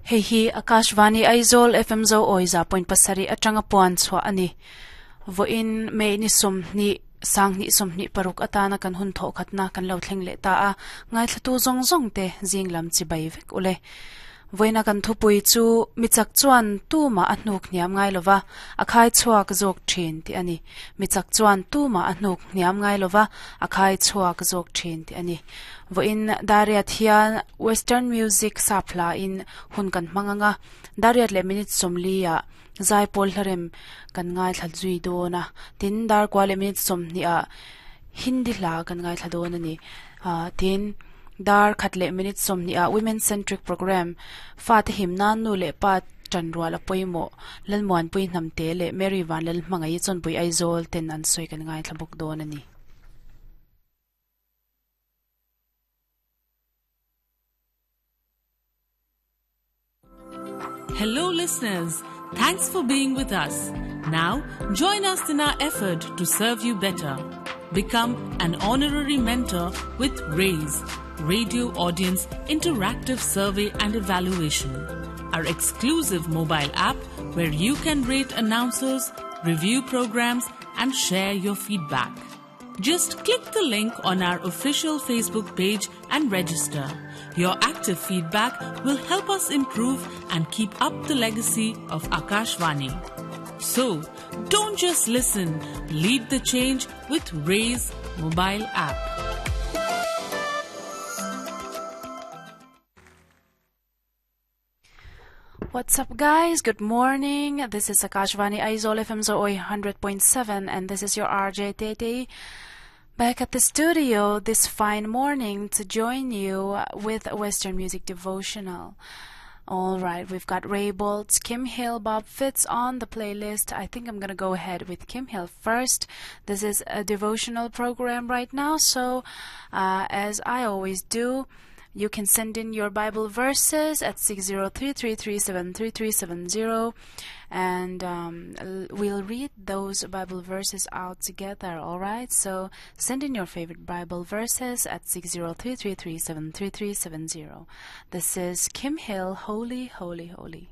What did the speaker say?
Hei hi Akashvani Aizawl FM Zo Awi 100.7 atanga puan chhuah a ni. Vawiin May ni 20 2026 atana kan hun thawh khatna kan lo thleng leh ta a, ngaithlatu zawng zawng te zing lam chibai vek ule. Vawiina kan thupui chu michak chuan tumah a hnuk hniam ngai lova, a khai chhuak zawk thin tih a ni. Michak chuan tumah a hnuk hniam ngai lova, a khai chhuak zawk thin tih a ni. Vawiin Dariat hian Western music sap hla in hun kan hmang ang a, Dariat leh minute 40 ah Zaipawl hlarem kan ngaithla zui dawn a, tin darkua leh minute 20 ah Hindi hla kan ngaithla dawn a ni. Tin, dar khat leh minute 20 ah Women Centric Programme, Fate him nan nu leh pa tanrual a pawimawh, Lalmuanpui Hnamte leh Mary Vanlal Hmangaih Chawnpui Aizawl ten an sawi kan ngaithla bawk dawn a ni. Hello, listeners. Thanks for being with us. Now, join us in our effort to serve you better. Become an honorary mentor with RAISE, Radio Audience Interactive Survey and Evaluation, our exclusive mobile app where you can rate announcers, review programs, and share your feedback. Just click the link on our official Facebook page and register. Your active feedback will help us improve and keep up the legacy of Akashvani. So, don't just listen, lead the change with Raise mobile app. What's up, guys? Good morning. This is Akashvani Aizawl FM Zo 100.7, and this is your RJ Tete back at the studio this fine morning to join you with Western Music Devotional. All right, we've got Ray Boltz, Kim Hill, Bob Fitts on the playlist. I think I'm gonna go ahead with Kim Hill first. This is a devotional program right now, so as I always do, you can send in your Bible verses at 603-337-3370, and we'll read those Bible verses out together, all right? So send in your favorite Bible verses at 603-337-3370. This is Kim Hill, Holy, Holy, Holy.